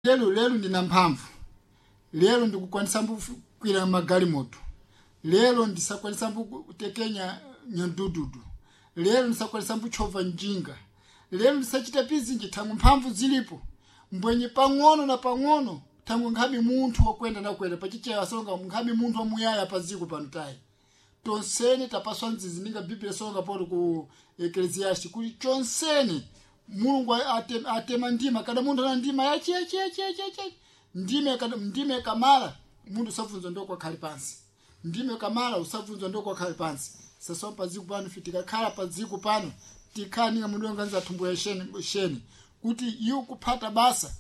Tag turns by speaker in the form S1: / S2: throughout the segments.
S1: Lero lero ndina mphamvu, lero ndikukwanisa kukwira magalimoto, lero ndisakwanisa kutekenya nyandududu, lero ndisakwanisa kuchova njinga, lero ndisachita pizinji thangwe mphamvu zilipo mbwenye pang'ono na pang'ono thangwe nkhabe munthu wakwenda nakwenda pachichewa songa nkhabe munthu wamuyaya paziko pano tayi. Tonsene tapaswa nzizi ninga biblia songa poto ku Ecclesiastes kuti chonsene Mulungu atema ndima kada munthu ana ndima yachi yachi yachi yachi yachi ndime kada ndime kamala munthu usabvunzwa ndoko akhali pansi, ndime kamala usabvunzwa ndoko akhali pansi. Sasa padziko pano tikakhala padziko pano tikhala ninga munthu wanganiza thumbo ya sheni sheni kuti iwo kuphata basa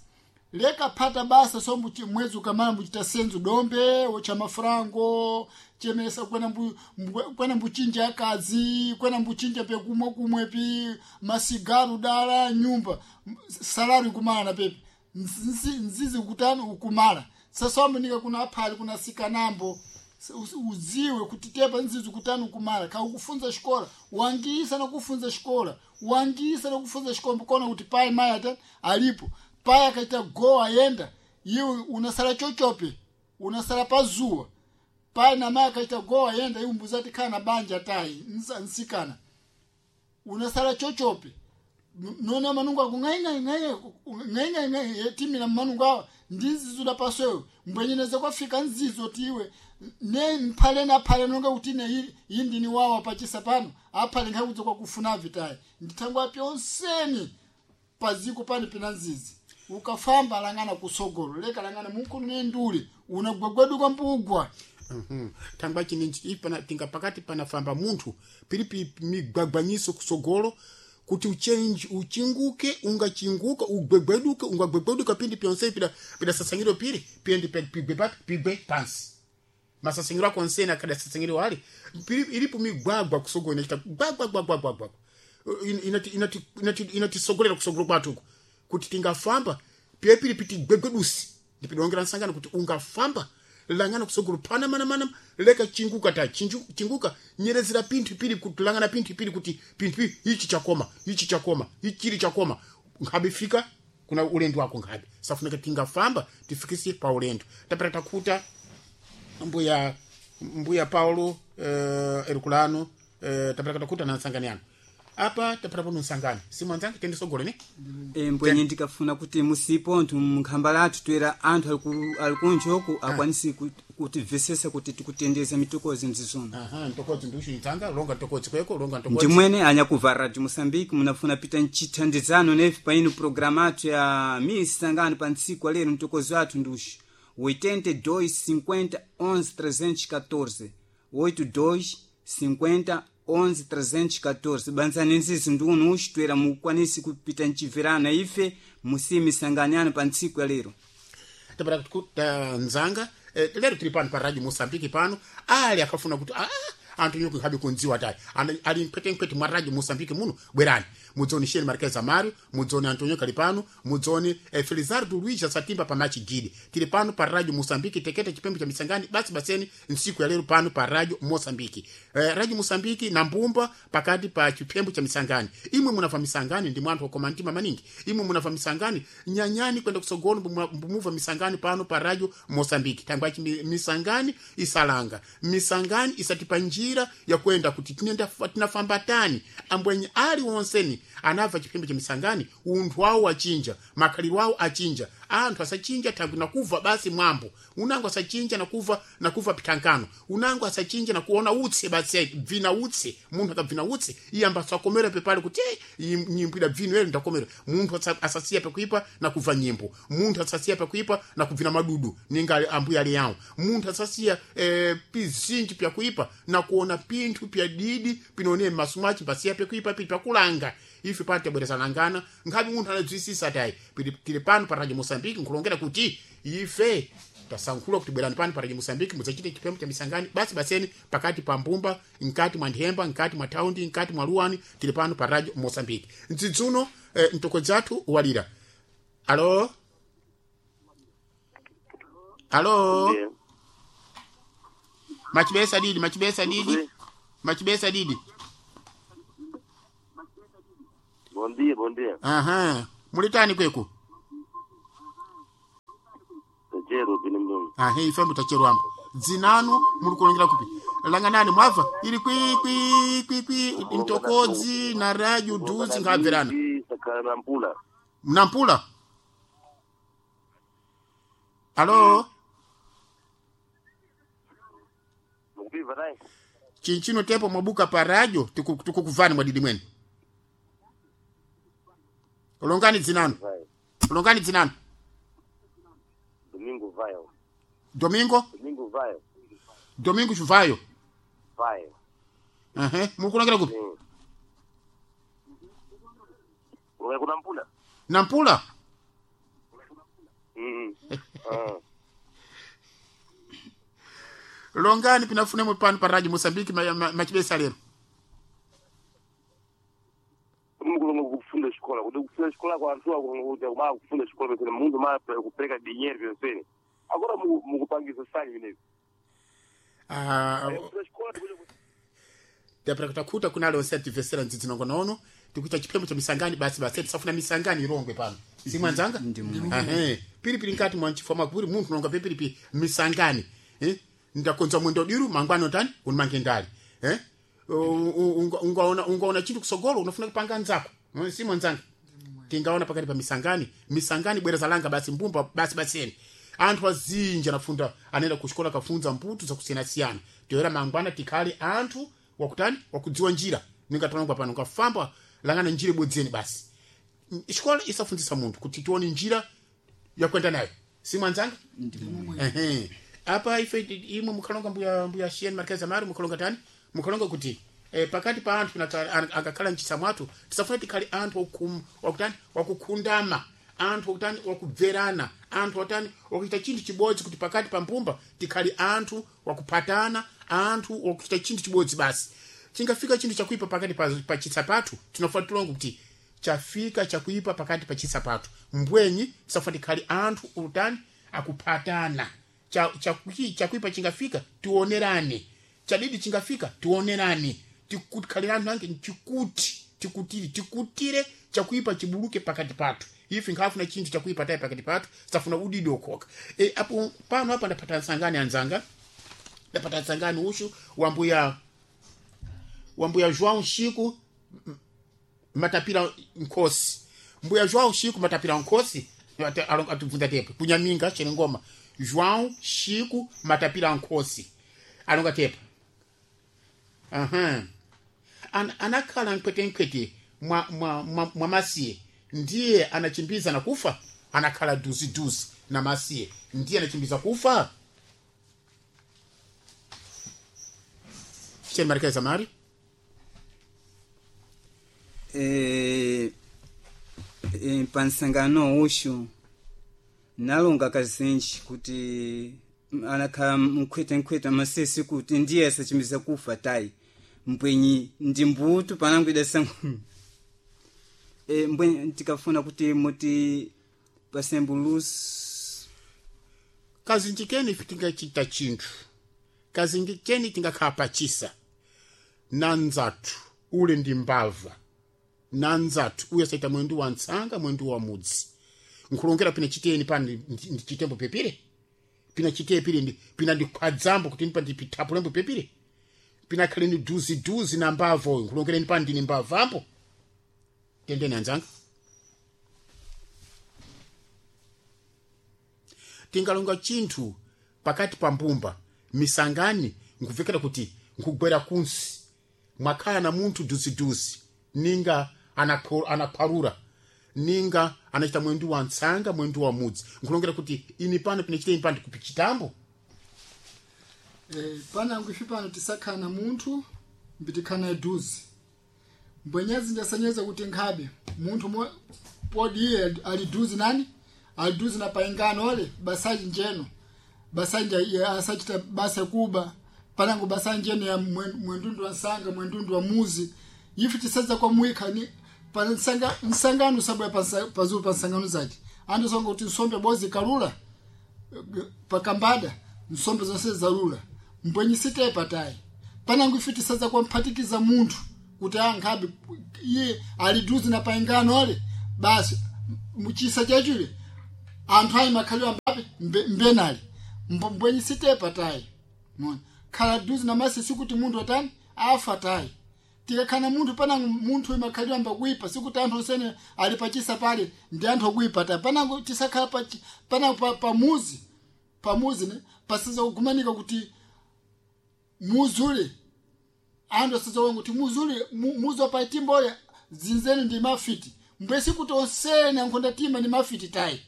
S1: leka phata basa so mwezi ukamala mbuchita senzu dombe wocha mafurango chemesa kwena kwena mbuchinja akazi kwena mbuchinja pekumwe kumwe pi masigaru dala nyumba salari kumala na pepe nzizi kutani ukumala. Sasa nika kuna aphali kuna sikanambo uziwe kuti tepa nzizi kutani ukumala ka ukufunza xikola wangisa na kufunza xikola wangisa na kufunza xikola mbukona kuti pai maya tani alipo pai akaita go ayenda iwe unasala chochope unasala pazuwa pai na mai akaita go ayenda iwe mbuzati kana banja tayi nsikana unasala chochope nona manungu ako ng'aing'aing'aing'aing'aing'aing'ai timila manungu awa ndizizuda paswewe mbwenyeneza kwafika nzizo tiwe ne mphale na phale nonga kuti ne iyi ndini wawa pachisa pano aphale nkhakudza kwakufuna vitayi ndithangwa pyonseni paziko pani pina nzizi ukafamba langana kusogolo leka langana munkulu ne nduli unagwagwaduka mbugwa.
S2: Thangwa chininji pana tinga pakati panafamba munthu pilipi migwagwanyiso kusogolo kuti uchenji uchinguke ungachinguka ugwegweduke ungagwegweduka pindi pyonse pida pida sasangiro pili piendi pigwe papi pigwe pansi masasangiro ako onsene akada sasangiro ali pili ilipo migwagwa kusogolo inachita gwagwa gwagwa gwagwa inati inati inati inatisogolera kusogolo kwatuko kuti tingafamba pie pili piti gwegwedusi ndipidongera nsangano kuti ungafamba langana kusogolo pana mana mana leka chinguka ta chinguka nyerezera pinthu pili kuti langana pinthu pili kuti pinthu ichi chakoma ichi chakoma ichi chili chakoma nkhabe fika kuna ulendo wako nkhabe safunika tingafamba tifikise pa ulendo tapita takhuta mbuya mbuya Paulo Herculano tapita takhuta na nsangani yanu apa tapita pano nsangani simwanzange tendisogole ne.
S3: Mbwenye ndikafuna kuti musipo anthu mnkhamba lathu toera anthu ali kunjoku akwanisi kutimvesesa kuti tikutendeza mitokozi mzizona.
S2: Aha, ntokodzi ndiuchinzanga longa ntokodzi kweko longa ntokodzi
S3: ndimwene anyakuva Radio Moçambique munafuna pita ncithandizano nefe paino programa athu ya misangano pa ntsiku alero mtokozi wathu nduxi 82 50 11 314 82 50 11 314 banzani nzizi ndunu uxi toera mukwanisi kupita nciverana ife musimisanganyano pa ntsiku ya lero.
S2: Tapita kuta nzanga lero tili pano pa Radio Moçambique pano ali akafuna kuti anthu nyuku nkhabe kundziwa tayi ali mphwete mwa Radio Moçambique muno bwerani mudzone Sheni Marquez Amaro mudzone Antonio kali pano mudzone Felizardo Luiz Satimba pa Machi Gidi tili pano pa Radio Moçambique tekete chipembe cha misangani basi baseni nsiku ya lero pano pa Radio Moçambique Radio Moçambique na mbumba pakati pa chipembe cha misangani imwe munava misangani ndi mwanthu wakoma mtima maningi imwe munava misangani nyanyani kwenda kusogolo mbumuva misangani pano pa Radio Moçambique tangwachi misangani isalanga misangani isatipa njira ya kwenda kuti tinenda tinafamba tani ambwenye ali wonseni anabva chipembe cha misangani unthu wawo achinja makhaliro awo achinja anthu asachinja thangwi nakuva basi mwambo unango asachinja nakuva nakuva pithankano unango asachinja nakuona utsi basi bvina utsi munthu akabvina utsi iye ambasakomera pepale kuti nyimbo ida bvino ere ndakomera munthu asasiya pekuipa nakuva nyimbo munthu asasiya pekuipa nakubvina madudu ninga ambuya ali yawo munthu asasiya pizinji pyakuipa nakuona pinthu pya didi pinone m'maso mwace pasiya pekuipa pili pakulanga ife pano tabwerezanangana nkhabe munthu anadzwisisa tayi tili pano pa Radio Moçambique nkulongera kuti ife tasankhula kuti bwerani pano pa Radio Moçambique mudzachite chipembe cha misangani basi baseni pakati pa mbumba mkati mwa nthemba mkati mwa thaundi mkati mwa luwani tili pano pa Radio Moçambique mdzidzuno mtokodzi athu walira alo alo.
S4: Ndiye.
S2: Machibesa didi machibesa didi
S4: Ndiye.
S2: machibesa didi.
S4: Bom dia, bom dia.
S2: Aha, mulitani kweku?
S4: Tachero pene mdomo.
S2: Ahe, ife mutacherwambo. Dzinanu muri kulongera kupi? Langanani mwabva iri kwi kwi kwi kwi mtokodzi na radio duzi ngabverana.
S4: Sakala na mpula.
S2: Mnampula? Alo,
S4: Mukupiva naye?
S2: chinchino tepo mwabuka pa radio tikukuvani mwadidi mwene. Longani dzinanu.
S4: Vai.
S2: Longani dzinanu.
S4: Domingo Vaio.
S2: Domingo,
S4: Domingo Vaio.
S2: Domingo Chuvayo.
S4: Vaio.
S2: Ehe, muri kulongera kupi?
S4: Uwe kuna mpula?
S2: Nampula?
S4: Mm. Ah.
S2: Longani pinafune mupano pa radio Mozambique machibesa lero.
S4: Mukulonga kufunda xikola kuti kufunda xikola kwa anthu akulonga kuti ma kufunda xikola pese mundu ma kupereka dinheiro pyonsene agora mukupangisa sanyi vinevi.
S2: Ah,
S4: Kufunda xikola tikuti
S2: tapera kutakuta kuna leo seti vesera ndzidzi nongonono tikuita chiphembo cha misangani basi basi tisafuna misangani irongwe pano simwanzanga
S3: Ndimwe.
S2: ehe piripiri nkati mwanchifwa makuri munthu nonga pipiripi misangani eh ndakonza mwendo diru mangwano tani unimange ndali eh ungaona ungaona chinthu kusogolo unafuna kupanga nzako simwanzanga tingaona pakati pa misangani misangani bwereza langa basi mbumba basi baseni anthu azinji anafunda anaenda kuxikola kafunza mputu zakusiyanasiyana toyera mangwana tikhale anthu wakutani wakudziwa njira ningatalongwa pano ngafamba langana njira ibodzeni basi xikola isafundzisa munthu kuti tione njira yakwenda nayo simwanzanga Ehe. Apa ife imwe mukhalonga mbuya mbuya Shien Marquez Amaro mukhalonga tani mukhalonga kuti pakati pa anthu akakhala mchisa mwathu tisafuna tikhale anthu wakutani wakukhundama anthu wakutani wakubverana anthu watani wakuchita chinthu chibodzi kuti pakati pa mbumba tikhale anthu wakuphatana anthu wakuchita chinthu chibodzi basi chingafika chinthu chakuipa pakati pa chisa pathu tinofuna tilongo kuti chafika chakuipa pakati pa chisa pathu mbwenyi tisafuna tikhale anthu utani akuphatana chakuipa chingafika tionerane chadidi chingafika tionerane tikukhalira anthu ange chikuti tikutire tikutire chakuipa chibuluke pakati pathu ife nkhafuna chinthu chakuipa tayi pakati pathu safuna udidi okhoka apo pano apa ndapata nsangani anzanga ndapata nsangani ushu wambuya wambuya João Chico matapira nkhosi mbuya João Chico matapira nkhosi atibvunza tepo kunyaminga chenengoma João Chico matapira nkhosi alonga tepo aha anakhala mkwetenkwete mwa masiye ndiye anachimbiza na kufa anakhala duziduzi na masiye ndiye anachimbiza kufa cheni marikeza mari
S3: pansangano ushu nalonga kazinji kuti anakhala mkhwetenkhwete masesi kuti ndiye asachimiza kufa tayi mbwenyi ndi mbutu panangu idasa mbwenyi tikafuna kuti muti pasembulusi
S2: kazinji keni ife tingachita chinthu kazinji keni tingakhala pachisa na nzathu ule ndi mbava na nzathu uyo saita mwendu wa ntsanga mwendu wa mudzi nkhulongera pina chiteni pano ndi chitembo pepire pina chiteye pire pina ndikhwadzambo kuti ndipa ndipithapulembo pepire pina khaleni duziduzi na mbava uyu nkhulongereni pano ndine mbavambo tendeni anzanga tingalonga chinthu pakati pa mbumba misangani nkuvekera kuti nkugwera kunsi mwakhala na munthu duziduzi ninga anakhwarura ninga anachita mwendu wa ntsanga mwendu wa mudzi nkulongera kuti ini pano pinachita ini pano ndikupichitambo
S1: Panangu ife pano tisakhala na munthu mbitikhala naye duzi mbwenyezi ndasanyeza kuti nkhabe munthu podi iye ali duzi nani ali duzi na paingano ole basaji njeno basanja iye asachita basa kuba panangu basa njeno ya mwendundu wa nsanga mwendundu wa muzi ife tisadza kwa mwika ni pa nsangano sabwe pazulu pa nsangano zace andu songa kuti nsombe bozi kalula pakambada nsombe zonse zalula mbwenyi sitepa tayi panangu ife tisadza kwa mphatikiza munthu kuti ankhabe iye ali duzi na paingano ale basi muchisa chachule Anthu ayi makhalidwe ambapi mbenali mbwenyi sitepa tayi. Mona khala duzi namasi sikuti munthu atani afa tayi. Tikakhala munthu panango munthu makhalidwe amba kuipa sikuti anthu osene ali pachisa pale ndi anthu okuipa tayi. Panango tisakhala panango pamuzi pamuzi ne pasiza kugumanika kuti muzule anthu asizaonga kuti muzule muzi wapaitimboya zinzeni ndi mafiti mbwesi kuti onsene ankhonda tima ndi mafiti tayi.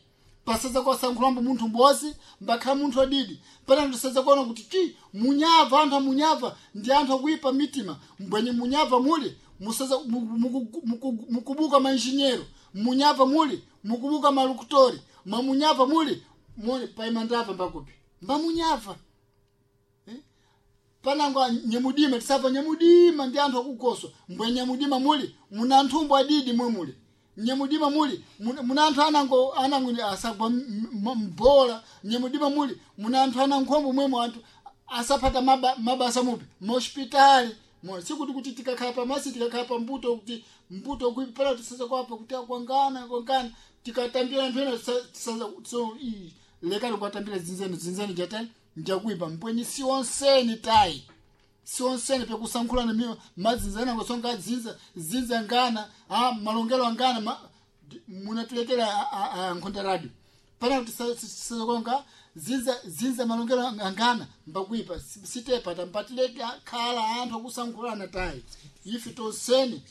S1: Pasaza kwasankhulambo munthu mbozi mbakhala munthu adidi. Pana ndisaza kuona kuti chi munyava anthu amunyava ndi anthu akuipa mitima mbwenye munyava muli musaza mukubuka mainjinyero munyava muli mukubuka malukutori mamunyava muli muli paimandava mbakupi mbamunyava. Panango nyamudima tisapa nyamudima ndi anthu akugoswa mbwe nyamudima muli muna anthumbo adidi mwe muli nyamudima muli muna anthu anango anango asagwa mbola nyamudima muli muna anthu anankhombo mwemo anthu asapata mabasa mupi mahospitali. Mona sikuti kuti tikakhala pamasi tikakhala pambuto kuti mbuto kuipala tisaza kwapa kuti akwangana kwangana tikatambira anthu ena tisaza so lekani kuwatambira zinzeni zinzeni jatani njakuipa mbwenyi sionseni tayi sionseni pekusankhulana miyo madzinza anango songa dzinza dzinza ngana a malongelo angana munatulekera nkhonda radio pana kuti sizakonga dzinza dzinza malongelo angana mbakuipa sitepa tampatileke khala anthu akusankhulana tayi. Ife tonseni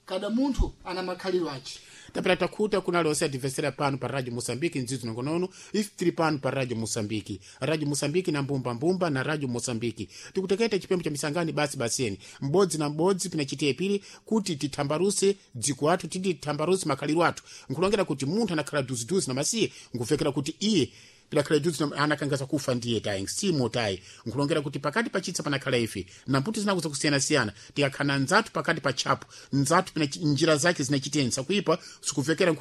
S1: kada munthu ana makhalidwe ache.
S2: Tapera takhuta kuna lonse adivesera pano pa Radio Moçambique ndzidzo nongonono ife tili pano pa Radio Moçambique. Radio Moçambique na mbumba mbumba na Radio Moçambique tikuteketa chipembo cha misangani basi basiyeni m'bodzi na m'bodzi pinachitiye pili kuti tithambaruse dziko athu titi tithambaruse makhalidwe athu nkulongera kuti munthu anakhala duziduzi na masiye nkuvekera kuti iye pilakhala duzi anakangaza kufa ndiye tayi simo tayi nkulongera kuti pakati pachitsa panakhala ife na mputi zinakuza kusiyana-siyana tikakhala nzathu pakati pa tchapo nzathu pina njira zake zinachitensa kuipa sikuvekera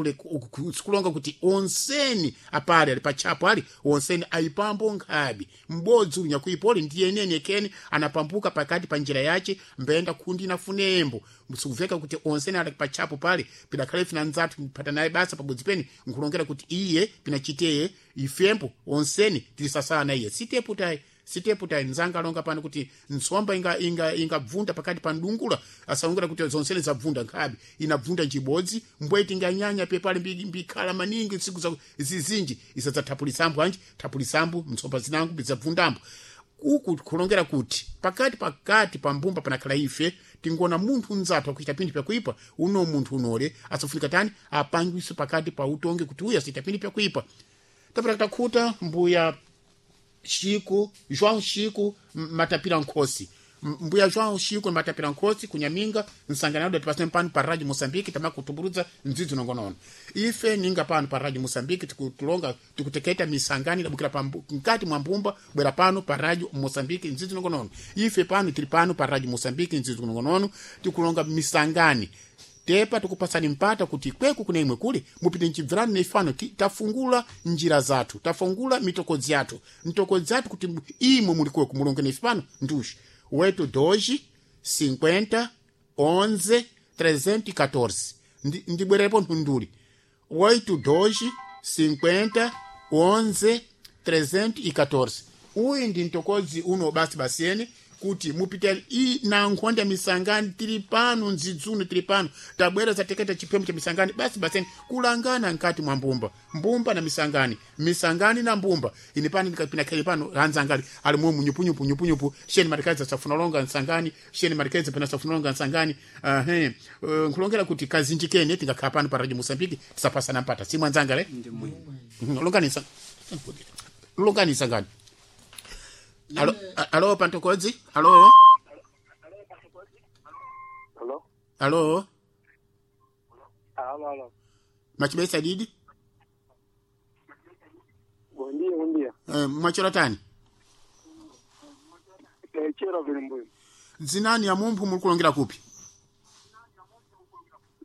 S2: sikulonga kuti onseni apale ali pa tchapo ali onseni ayipambo nkhabi m'bodzi uyu nyakuipa oli ndiye eneni ekeni anapambuka pakati pa njira yace mbenda kundi inafunembo sikuveka kuti onseni ali pa tchapo pale pidakhala ife na nzathu phata naye basa pabodzi peni nkulongera kuti iye pinachiteye ifembo onseni tilisasana iye sitepo tayi sitepo tayi nzanga alonga pano kuti ntsomba ingabvunda pakati pa ndungula asalongera kuti zonsene zabvunda nkhabe inabvunda njibodzi mbweti inganyanya pepale mbikhala maningi ntsiku za zizinji isadzathapulisambo anji thapulisambo ntsomba zinango bizabvundambo uku kulongera kuti pakati pakati pa mbumba panakhala ife tingona munthu nzathu akuchita pinthu pyakuipa uno munthu unole asafunika tani apangwiso pakati pa utonge kuti uyu asachita pinthu pyakuipa tapera takhuta mbuya Chico João Chico Matapira Nkhosi mbuya João Chico Matapira Nkhosi kunyaminga nsangano datipasene pano pa Radio Moçambique tamakutumburudza mdzidzo nongonono ife ninga pano pa Radio Moçambique tikutulonga tikuteketa misangani idabukira pa mkati mwa mbumba bwera pano pa Radio Moçambique mdzidzo nongonono ife pano tili pano pa Radio Moçambique mdzidzo nongonono tikulonga misangani tepa tikupasani mpata kuti kweku kuna imwe kuli mupite mchibvirani neifano tafungula njira zathu tafungula mitokodzi yathu mitokodzi yathu kuti imwe muli kweku mulonge neife pano nduxi 8 2 50 11 314 ndibwerepo nthunduli 8 2 50 11 314 uyu ndi mtokodzi uno basi basiyeni kuti mupite i na nkhonde ya misangani tili pano nzidzuno tili pano tabwera zateketa chiphembo cha misangani basi baseni kulangana nkati mwa mbumba mbumba na misangani misangani na mbumba ine pano ndikapina pano hanzangali ali mwe munyupunyupu nyupunyupu sheni marikazi safuna longa nsangani sheni marikazi pena safuna longa nsangani nkulongera kuti kazinjikene tingakhala pano pa Radio Mozambique tisapasana mpata si mwanzangale
S3: ndi mwe
S2: longanisa longanisa ngani Alo, alo Pantokodzi? Alo?
S4: Alo?
S2: Alo?
S4: Alo, alo.
S2: Machibesa didi?
S4: Bom dia, bom dia.
S2: Mwachora tani?
S4: Chero vili mbuyo.
S2: Dzinani ya mumphu muli kulongera kupi?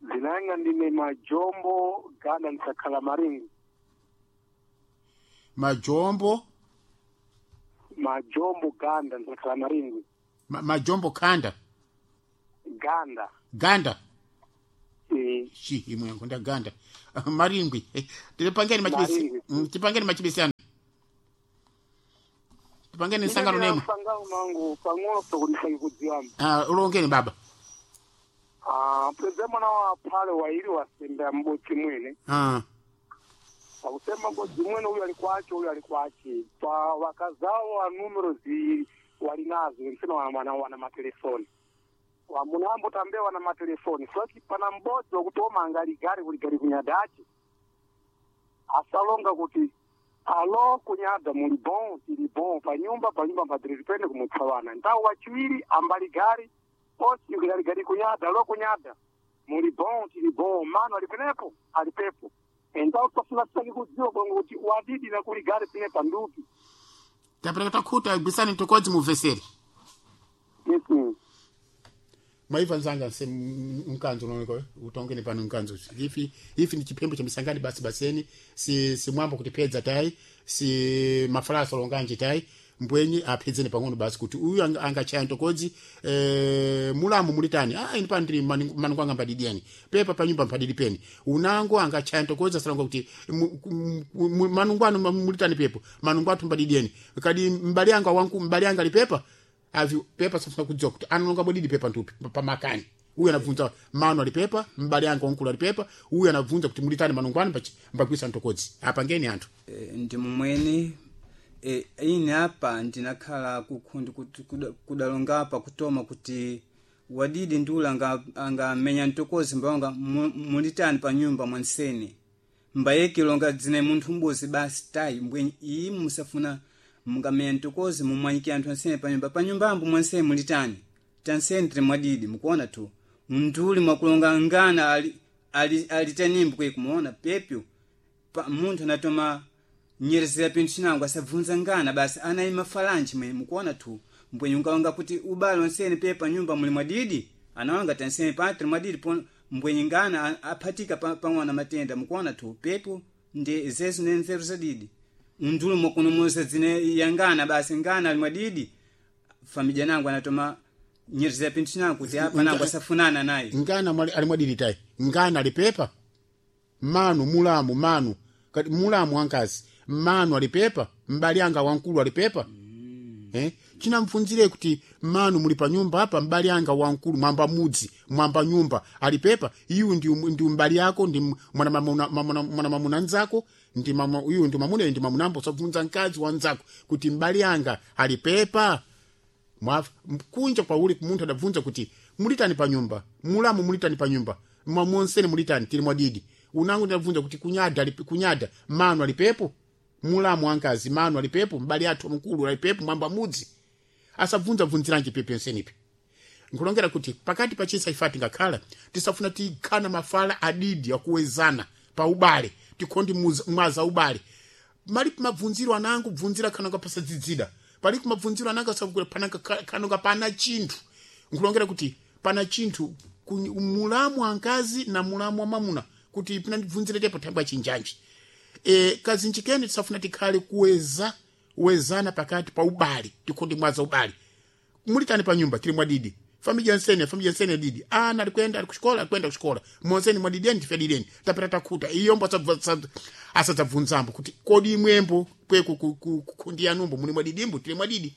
S4: Zinanga ndine Majombo Ganda nsakhala Maringo.
S2: Majombo,
S4: Majombo Ganda nsakhala Maringo.
S2: Majombo Kanda.
S4: Ganda.
S2: Ganda. Shi imwe yangu ndaganda. Maringwi. Tipangeni machibesi.
S5: Maringwi.
S2: Tipangeni machibesi anu. Tipangeni nsangano nemwe.
S5: Sangano mangu pang'ono sokunisaki kudziwamba.
S2: Ah, ulongeni baba.
S5: Ah, pweze mwana wa pale waili wasembea mbodzi mwene.
S2: Ah.
S5: Pakusema mbodzi mwene uyu ali kwache uyu ali kwache. Pa wakazao wa numero zi walinazo nsema wana matelefoni. Wamunambo tambe wana matelefoni. Soki pana mbodzi wakutoma angali gari kuli gari kunyadachi. Asalonga kuti alo kunyada muli bon tili bon panyumba panyumba mpadiri pene kumutsawana ndawu wachiwiri ambali gari osi gari gari kunyada alo kunyada muli bon tili bon mano ali penepo ali pepo endawu tofuna sitaki kudziwa kongo kuti wadidi na kuli gari pine pandupi
S2: Tapera takhuta gwisani tokodzi muveseri.
S5: yes
S2: Mwaibva nzanga se mkanzo unooneka utongeni pano mkanzo ifi ifi ni chiphembo cha misangani basi baseni si si mwambo kuti pedza tai si mafalasa longanji tai mbwenyi aphedzeni pang'ono basi kuti uyu angachaya ntokodzi mulamu mulitani ah ini pano ndili manungu anga mbadidieni pepa panyumba mpadidi peni unango angachaya ntokodzi asalonga kuti manungu anu mulitani pepo manungu athu mbadidieni kadi mbali anga wanku mbali anga lipepa avi pepa safuna kudziwa kuti analonga bwedidi pepa ntupi pamakani uyu anabvunza mano alipepa mbali anga wankulu alipepa uyu anabvunza kuti mulitani manungu anu mbagwisa ntokodzi apangeni anthu
S3: Ndi mumwene ine apa ndinakhala kukhundi kuti kudalonga apa kutoma kuti wadidi ndiula angamenya mtokozi mbawanga mulitani pa nyumba mwansene mbayekilonga dzine munthu mbuzi basi tayi mbwenyi iyi musafuna mungamenya mtokozi mumwanyike anthu ansene pa nyumba pa nyumbambo mwansene mulitani tansene tili mwadidi mukuona tu mnduli mwakulonga ngana alitanimbo ali kumuona pepyo pa munthu anatoma nyerezera pinthu chinango asabvunza ngana basi anayima falanji mwe mukuona tu mbwenye ungaonga kuti ubale onsene pe pa nyumba muli mwadidi anawanga tansene patri mwadidi po mbwenye ngana aphatika pang'ona matenda mukuona tu pepo ndi zezo ne nzeru zadidi mndulu mwakunomoza dzine yangana basi ngana ali mwadidi famidya nangu anatoma nyerezera pinthu chinango kuti apa nangu asafunana naye
S2: ngana ali mwadidi tayi ngana alipepa manu mulamu manu kati mulamu wankazi manu alipepa mbali anga wankulu alipepa chinamfunzire kuti manu muli pa nyumba apa mbali anga wankulu mwamba mudzi mwamba nyumba alipepa iyu ndi mbali yako ndi mwana mamuna nzako ndi mama uyu ndi mamuna ndi mamunambo sabvunza mkazi wanzako kuti mbali anga alipepa kunja kwa uli munthu adabvunza kuti mulitani pa nyumba mulamu mulitani pa nyumba mwamonseni mulitani tili mwadidi unangu ndinabvunza kuti kunyada kunyada manu alipepo mulamu wankazi manu alipepo mbali athu mkulu alipepo mwamba mudzi asabvunza bvunziranji pepe nsenipi nkulongera kuti pakati pa chisa ifa tingakhala tisafuna tikhana mafala adidi akuwezana pa ubale tikhondi mwaza ubale mali mabvunziro anangu bvunzira khanonga pasadzidzida pali kumabvunziro anangu asakula pananga khanonga pana chinthu nkulongera kuti pana chinthu mulamu wankazi na mulamu wa mamuna kuti pinandibvunzire tepo thangwa chinjanji kazinji kene tisafuna tikhale kuweza wezana pakati pa ubale tikhondi mwaza ubale mulitani pa nyumba tili mwadidi famidya nsene famidya nsene didi ana alikwenda ali kuxikola alikwenda kuxikola monseni mwadideni tife dideni tapita takhuta iyombo asadzabvunzambo kuti kodi imwembo kweku kundi yanumbo muli mwadidimbo tili mwadidi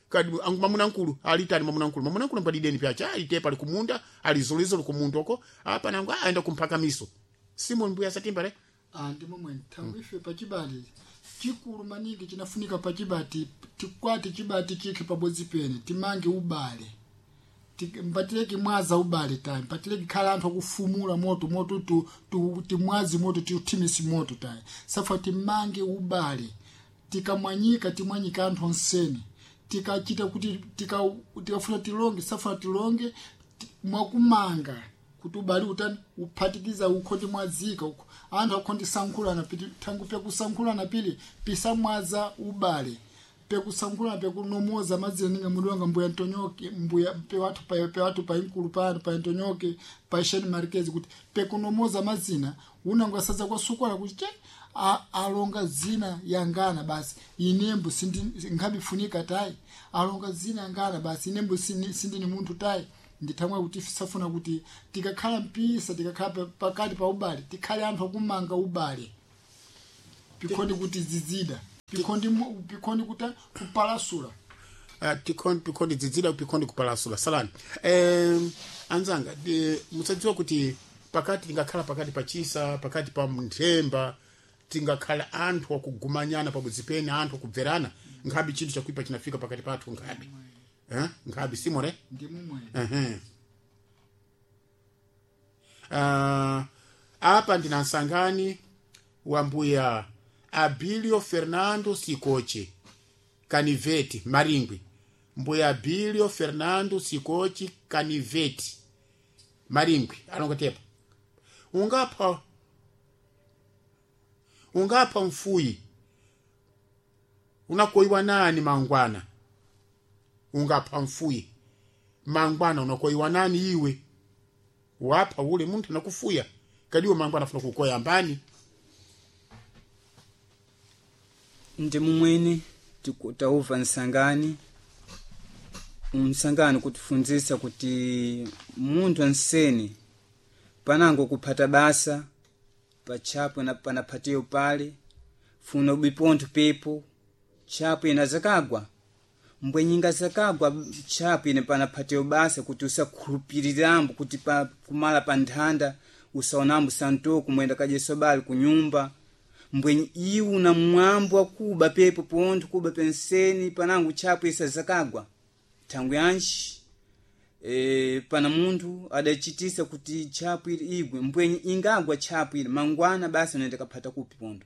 S2: kadi mamuna nkulu alitani mamuna nkulu mamuna nkulu mbadideni pyacha alitepa ali kumunda alizolizolo kumunda uko apa nangu aenda kumphakamiso simon mbuya satimba re
S1: ndi momwe nthawi ife pachibati chikulu maningi chinafunika pachibati tikwati chibati chikhe pabodzi pene timange ubale mpatileki mwaza ubale tayi mpatileki khala anthu akufumula moto moto timwazi moto tiuthimisi moto tayi safa timange ubale tikamwanyika timwanyika anthu onsene tikachita kuti tikafuna tilonge safuna tilonge mwakumanga kuti ubale utani uphatikiza ukhoti mwazika uko anthu akhondi sankhulana piti thangu pekusankhulana pili pisamwaza ubale pekusankhulana pekunomoza madzina ninga mudu wanga mbuya ntonyoke mbuya pewathu pa pewathu pa inkulu pano pa ntonyoke pa sheni marquez kuti pekunomoza mazina unango asadza kwasukwala kuti che alonga zina yangana basi inembo sindi nkhabifunika tayi alonga zina yangana basi inembo sindini munthu tayi Ndithamwe kuti safuna kuti tikakhala mpisa, tikakhala pakati pa ubale, tikhale anthu akumanga ubale, pikhondi kuti zizida, pikhondi pikhondi kuti kupalasula.
S2: Pikhondi dzidzida, pikhondi kupalasula salani. Anzanga, musadziwa kuti pakati tingakhala pakati pa chisa, pakati pa nthemba, tingakhala anthu akugumanyana pabudzi pene, anthu akubverana, nkhabe chinthu chakuipa chinafika pakati pathu, nkhabe, eh? Nkhabe simore.
S1: Ndi mumwe.
S2: Ehe. Apa ndina nsangani wa mbuya Abilio Fernando Sikoche Kaniveti Maringwi. Mbuya Abilio Fernando Sikoche Kaniveti Maringwi anongotepa ungapha mfuyi unakoiwa nani mangwana? Ungapha mfuyi mangwana unakoiwa nani iwe? Wapha ule munthu nakufuya kadiwe mangwana afuna kukoya mbani?
S3: Ndi mumwene tauva nsangani, msangani kutifunzisa kuti munthu ansene panango kuphata basa pachapo na panaphatiyo pale funa ubipontho pepo chapo ina zakagwa mbwenyinga zakagwa chapo ine panaphatiyo basa kuti usakhulupirirambo kuti pa, kumala pa nthanda usaonambo santoku mwenda kajeso bali kunyumba mbwenyi iwu na mwambo akuba pepo pontho kuba penseni panango chapo isa zakagwa thangwi yanji pana munthu adachitisa kuti tchapu ili igwe mbwenyi ingagwa tchapu ili mangwana basi unaenda kaphata kupi pontho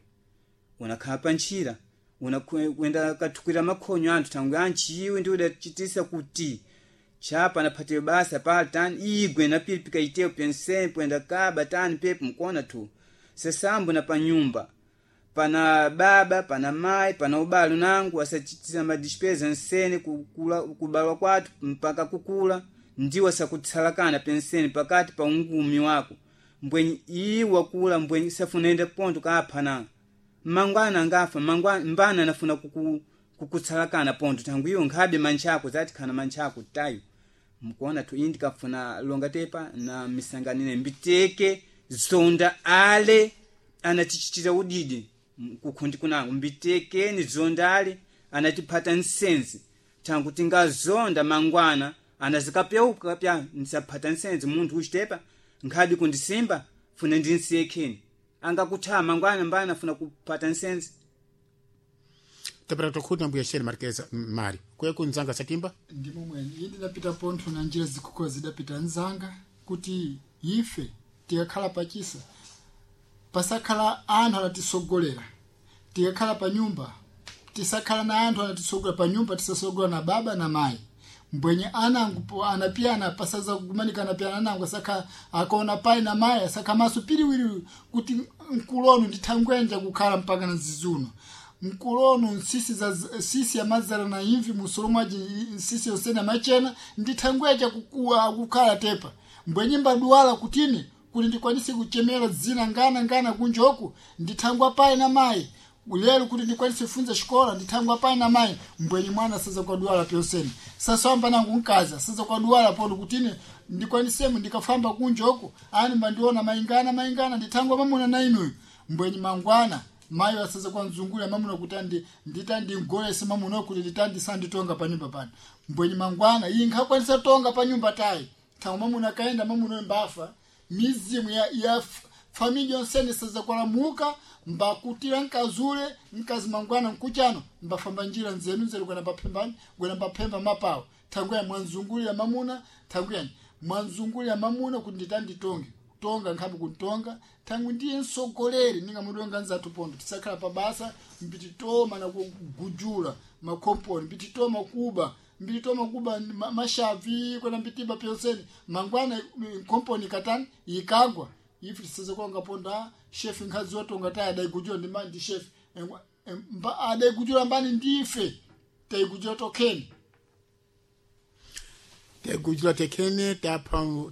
S3: unakhala pa ntchira unakwenda kathukwira makhonyo anthu thangwi yanji iwe ndi udachitisa kuti tchapa anaphatiwe basa pali tani igwe na pili pikaitewo penseni poenda kaba tani pepo mkuona tu sesambo na panyumba pana baba pana mai pana ubalo nangu asachitisa madispeza nsene kukula, kubalwa kwathu mpaka kukula ndiwo asakutsalakana penseni pakati pa ungumi wako mbwenyi iwa kula mbwenyi safunende ponto kaphana mangwana angafa mangwana mbana anafuna kukutsalakana ponto tangu iwo nkhabe manchako zati khana manchako tayo mkuona tu indi kafuna longa tepa na misanganine mbiteke zonda ale anatichitira udidi kukhundi kunango mbitekeni zondale anatiphata nsenzi tangu tingazonda mangwana anazikapyauka pya nsaphata nsenzi munthu uchitepa nkhabi kundisimba funa ndinsiyekheni angakuthaa mangwana mbana afuna kuphata nsenzi.
S2: Tapera tokhuta mbuya Sheri Marquez Mari kweku nzanga satimba.
S1: Ndi momwe iye ndidapita pontho na njira zikukula zidapita nzanga kuti ife tikakhala pachisa pasakhala anthu anatisogolera, tikakhala pa nyumba tisakhala na anthu anatisogolera pa nyumba, tisasogola na baba na mayi mbwenye anangu anapiyana pasaza kugumanika anapiyana anangu asakha akaona pai na mayi asakha maso piriwiri kuti mkulono ndithangwenja kukhala mpaka na zizuno mkulono nsisi za sisi yamazala na imvi musolo mwaji nsisi yosena machena ndithangweja kukua kukhala tepa mbwenye mbaduwala kutini kuti ndikwanise kuchemera dzina ngana ngana kunjoku ndithangwa pai na mayi lero kuti ndikwanise kufunza xikola ndithangwa pai na mayi mbwenye mwana saza kwaduwala pyoseni sasamba nangu nkaza saza kwaduwala polo kutini ndikwanisemu ndikafamba kunjoku ani mbandiona maingana maingana ndithangwa mamuna na inuyu mbwenye mangwana mayi asaza kwanzungulira mamuna kuti andi nditandi mamuna kuti nditandi sanditonga pa nyumba pano mbwenye mangwana iyi nkhakwanisa tonga pa nyumba tayi thangwa mamuna akaenda mamuna mbafa mizimu ya família yonsene saza kwalamuka mbakutira nkazule nkazi mangwana nkuchano mbafamba njira nzenu nzeru kwena mbaphembani kwena mbaphemba mapawo thangwena mwanzungulira mamuna thangwena mwanzungulira mamuna kuti nditanditonge tonga nkhabe kuntonga thangwi ndiye msogoleri ninga mudonga nzathu pondo tisakhala pabasa mbititoma na kugujula makomponi mbititoma kuba mbititoma kuba mashavi kwena mbitiba pyonseni mangwana komponi katani ikagwa ife tisaze kwanga ponda shefi nkhazi watonga tayi adaigujula ndi ndi shefi adaigujula mbani ndife taigujula tokheni.
S2: Taigujula tekhene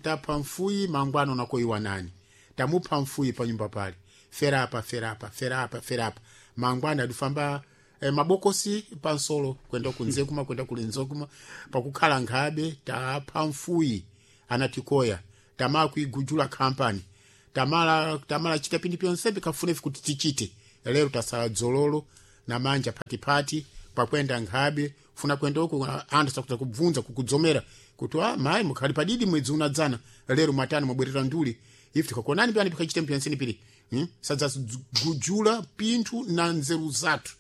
S2: tapha mfuyi mangwana unakoiwa nani tamupha mfuyi pa nyumba pale ferapa ferapa ferapa ferapa mangwana adifamba mabokosi pansolo kwenda kunzekuma kwenda kulinzokuma pakukhala nkhabe tapha mfuyi. Anatikoya tamala kuigujula kampani, tamala chita pindi pyonse pikafune kuti tichite. Lero tasala dzololo na manja patipati pakwenda nkhabe funa kwenda uko anthu sakuta kubvunza kukudzomera kuti ah mayi mukhali padidi mwedzi unadzana lero mwatani mwabwerera nduli ife tikakuonani pani pikachite mpyansini pili sadzagujula pinthu na nzeru zathu,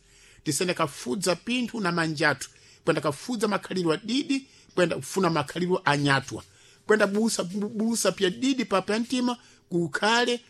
S2: tisende kafudza pinthu na manjathu, kwenda kafudza makhalidwe adidi, kwenda kufuna makhalidwe anyatwa, kwenda busa pya didi pa pyantima kukhale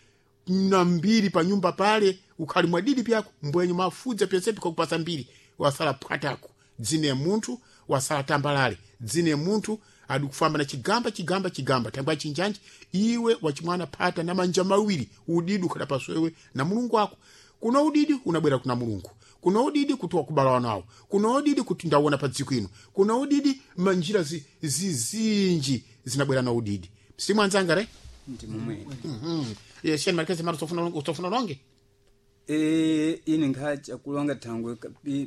S2: na mbiri pa nyumba pale ukhali mwadidi pyako mbwenyu mafudza pyonse pikakupasa mbiri wasala phwatako dzine ya munthu wasala tambalale dzine ya munthu adikufamba na chigamba chigamba chigamba thangwa chinjanji iwe wachimwana phata na manja mawiri udidi ukhala paswewe na mulungu wako. Kuno udidi unabwera kuna mulungu, kuno udidi kuti wakubala nawo, kuno udidi kuti ndawona pa dziko ino, kuno udidi manjira zizinji zinabwera na udidi simwanzanga re
S3: Ndi momwe.
S2: Sheni marikezi mara usofuna longe.
S3: E, ine nkhacha kulonga thangwe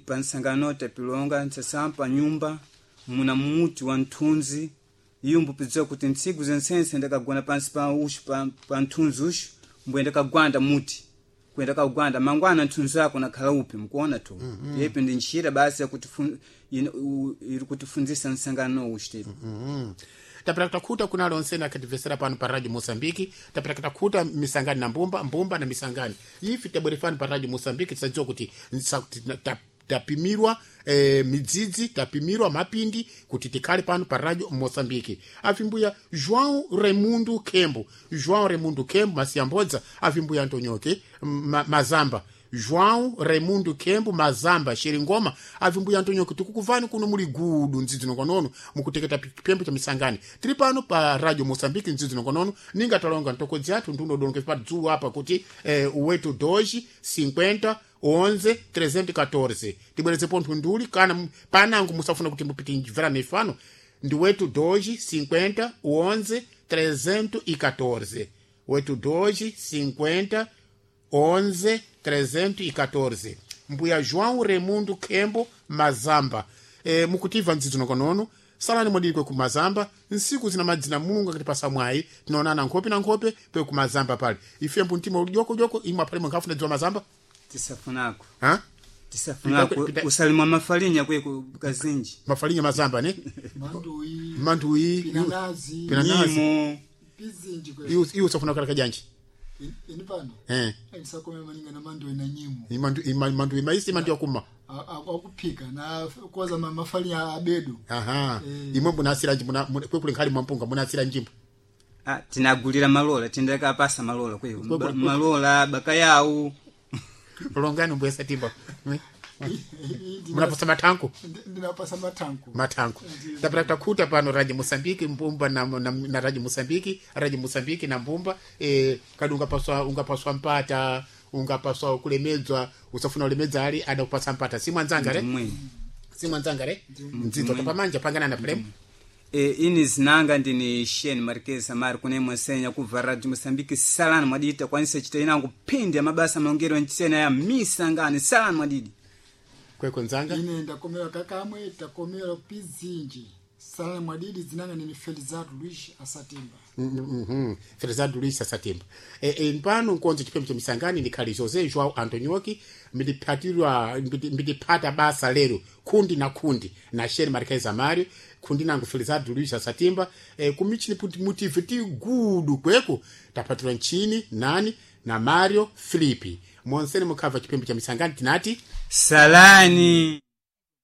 S3: pa nsangano tapilonga nsasampa nyumba muna muti wa nthunzi iyo mbupidziwa kuti ntsiku zensense ndakagona pansi pa ushu pa nthunzi ushu mbwe ndakagwanda muti kuyenda kagwanda mangwana nthunzi ako nakhala upi mukuona tu. Yepi ndi ntchira basi yakuti iri kutifunzisa nsangano ushu tepi.
S2: Tapera kutakuta kuna lonse nakativesera pano pa radio Mozambique, tapera kutakuta misangani na mbumba mbumba na misangani ifi tabwerefani pa radio Mozambique tisadziwa kuti tapimirwa midzidzi tapimirwa mapindi kuti tikhale pano pa radio Mozambique. Avimbuya João Raimundo Kembo, João Raimundo Kembo masiyambodza avimbuya Antonioke Mazamba, João Raimundo Kembo Mazamba Sheringoma avimbuya Antonioke tikukuvani kuno muli gudu ndzidzi nongonono mukuteketa pembo cha misangani tiri pano pa radio Mozambique ndzidzi nongonono ninga talonga ntokodzi athu ndunodonke pa dzulo apa kuti uwetu doji 50 11 314 tibwereze pontho nduli kana panango musafuna kuti mupite mvera mifano ndi wetu doji 50 11 314 wetu doji 50 11 314 mbuya João Raimundo Kembo Mazamba. Mukutiva ndzidzi nongonono salani mwadikwe ku Mazamba nsiku zina madzina mulungu akati pasamwayi tinaonana nkhope na nkhope pe ku Mazamba pale ife mpuntima ujokojoko imwe apale mwankafuna dziwa Mazamba
S3: Tisafunako.
S2: Ha?
S3: Tisafunako usalimwa mafalinya kwe kazinji
S2: mafalinya Mazamba ne
S1: Manduyi,
S2: manduyi
S1: pinanazi,
S2: pinanazi.
S3: Nyimo
S1: pizinji kwe.
S2: Iwe usafuna kala kajanji
S1: Ini pano ndisakome maninga na manduyi na nyimo.
S2: Manduyi maisi mandu yakuma
S1: Akuphika na koza mafalinya abedu.
S2: Aha. Imwe munasira njimbo kwekule nkhali mwampunga munasira njimbo.
S3: Ah, tinagulira malola tindakapasa malola kwe malola bakayawu
S2: longani mbwesa timba munapasa mathanko
S1: Ndinapasa mathanko.
S2: Mathanko tapera takuta pano radio Mozambique mbumba na radio Mozambique, radio Mozambique na mbumba kadi ungapaswa mpata ungapaswa kulemedzwa usafuna ulemedza ali ada kupasa mpata simwanzanga re
S3: Ndimwe.
S2: simwanzanga re mdzidzo tapamanja pangana na prem.
S3: Ini zinanga ndini Shane Marquez Amari kune mwasenya kubva Radio Mozambique salani mwadidi kwanisa chita inango phindi ya mabasa maongero ntsena ya misangani salani mwadidi
S2: Kwekwe nzanga.
S1: Ine ndakomera kakamwe takomera pizinji salani mwadidi zinanga nini Felizardo Luis Asatimba.
S2: Felizardo Luis Asatimba. Mpano nkonzo chipembe cha misangani ndikhali José João Antonioki mbidiphatirwa mbidipata basa lero kundi na kundi na Shane Marquez Amario kundi nangu Felizardo Luis Asatimba kumichini puti mutive ti gudu kweko tapatirwa nchini nani na Mario Filipi monsene mukhava chipembe cha misangani tinati
S3: salani.